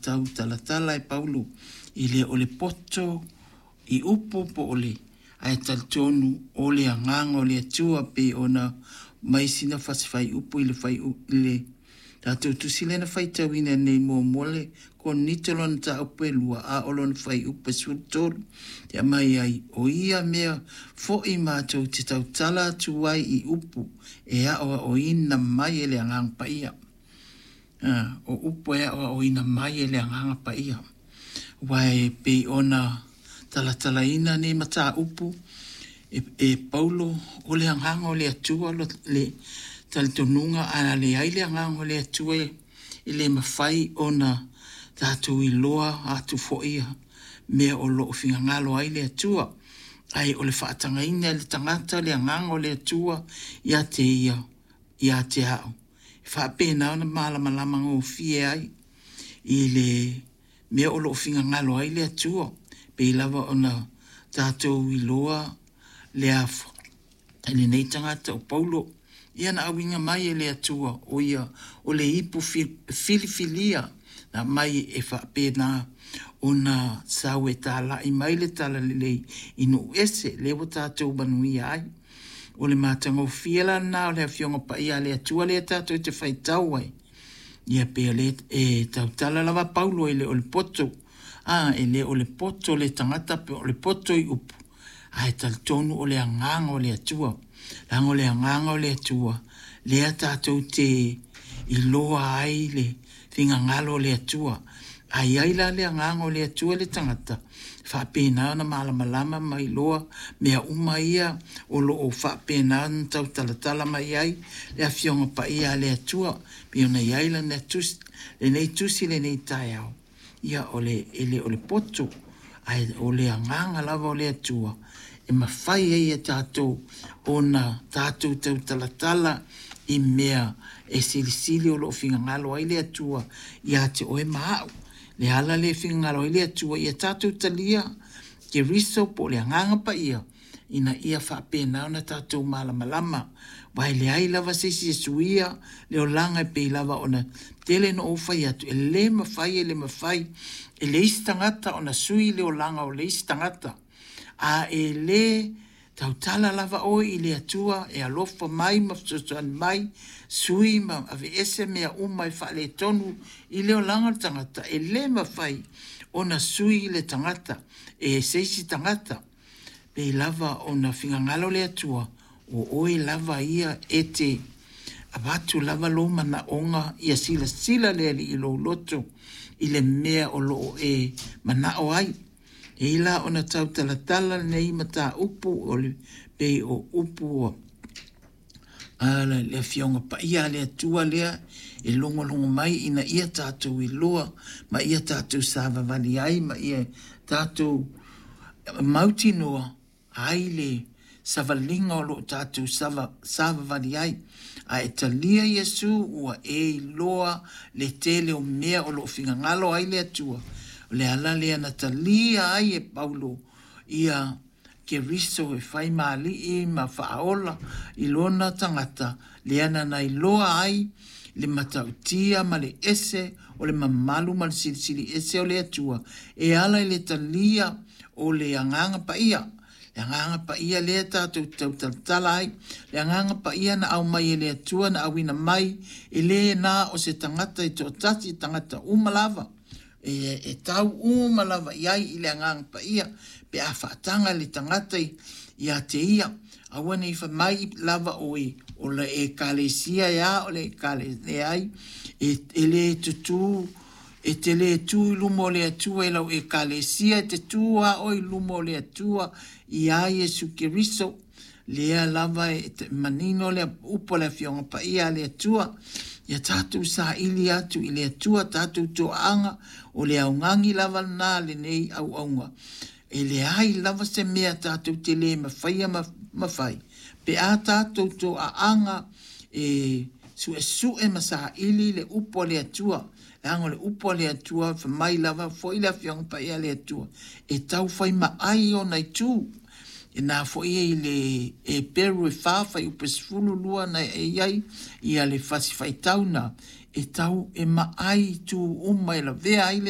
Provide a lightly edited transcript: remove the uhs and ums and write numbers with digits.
tautalatala e Paulo e le o le poto i upu po o le ae talitonu o le agaga o le Atua pei ona mai sina fasi fuaiupu i le fuaiupu i le tatou tusi lea na faitauina nei muamua le Korinito lona mataupu e 2 a o lona fuaiupu e 13 e aumai ai o ia mea foi matou te tautala atu ai i upu e aoaoina mai e le Agaga Paia. O upu e aoaoina mai e le Agaga Paia. Aua e pei ona talatalaina nei mataupu e Paulo, o le Agaga o le Atua le talitonuga a leai le Agaga o le Atua e le mafai ona tatou iloa atu foi mea o lo o finagalo ai le Atua. Ae o le faatagaina e le tagata le Agaga o le Atua ia te ia, ia te au, e faapena ona malamalama gofie ai i le mea o lo o finagalo ai le Atua. Pei lava ona tatou iloa lenei tagata o Paulo, ia na auina mai e le Atua o ia o le ipu filifilia na aumai e faapena ona sau e talai mai le talalelei i nuu ese, lea ua tatou manuia ai. O le matagofie la lena o le Afioga Paia a le Atua lea tatou te faitau ai, ia pei o lea e tautala lava Paulo e le o le poto, e le o le poto le tagata po o le poto i upu, ae talitonu o le agaga o le Atua. Leaga o le agaga o le Atua lea tatou te iloa ai le finagalo o le Atua. A i ai la le agaga o le Atua i le tagata, e faapena ona malamalama ma iloa mea uma ia o lo o faapena ona tautalatala mai ai le Afioga Paia a le Atua, pei ona i ai lana tusi, lenei tusi lenei taeao, ia o le, e le o le poto, ae o le agaga lava o le Atua e mafai ai e tatou ona tatou tautalatala i mea e silisili o lo o finagalo ai le Atua ia te oe ma au. Le ala lea e finagalo ai le Atua ia tatou talia Keriso po o le Agaga Paia ina ia faapena ona tatou malamalama. Aua e leai lava se isi e suia le olaga e pei lava ona tele na ou fai atu, e le mafai, e le mafai e le isi tagata ona sui le olaga o le isi tagata. A e le tautala lava oe i le Atua e alofa mai ma fesoasoani mai, sui ma aveese mea uma e faaletonu i le olaga o le tagata, e le mafai ona sui le tagata e se isi tagata. Pei lava ona finagalo le Atua, o oe lava ia e te avatu lava lou manaoga ia silasila le Alii i lou loto i le mea o lo o e manao ai. E i la ona tautalatala lenei mataupu o le pei o upu a le Afioga Paia a le Atua lea e logologo mai ina ia tatou iloa ma ia tatou savavali ai ma ia tatou mautinoa ai le savaliga o lo o tatou savavali ai. A e talia Iesu ua e iloa le tele o mea o lo o finagalo ai le Atua. O le ala lea na talia ai e Paulo ia Keriso e fai ma alii ma faaola i lona tagata, lea na iloa ai le matautia ma le ese o le mamalu ma le silisili ese o le Atua e ala i le talia o le Agaga Paia. Le Agaga Paia lea tatou te tautalatala ai, le Agaga Paia na aumai e le Atua na auina mai, e le na o se tagata e toatasi, tagata uma lava, e tau uma lava i ai i le Agaga Paia, pe a faataga le tagata ia te ia, aua ne i fai mai lava oe, o le ekalesia e a, o le ekalesia, leai, e le tutū, e te le tu i luma o le Atua i lau ekalesia, e te tu lava oe i luma o le Atua iā Iesu Keriso. Lea lava e manino le upu a le Afioga Paia a le Atua, ia tatou saili atu i le Atua tatou toaaga, o le augani lava lena a lenei auauna. E leai lava se mea tatou te le mafaia ma fai, pe a tatou toaaga e suesue ma saili le upu a le Atua. Leaga o le upu a le Atua, fai mai lava foi le Afioga Paia a le Atua, e tau fai maai ona itu. E na foi i le Eperu e 4 fuaiupu e 12 na e i ai ia le fasi faitau na, e tau e maai itu uma e lavea ai le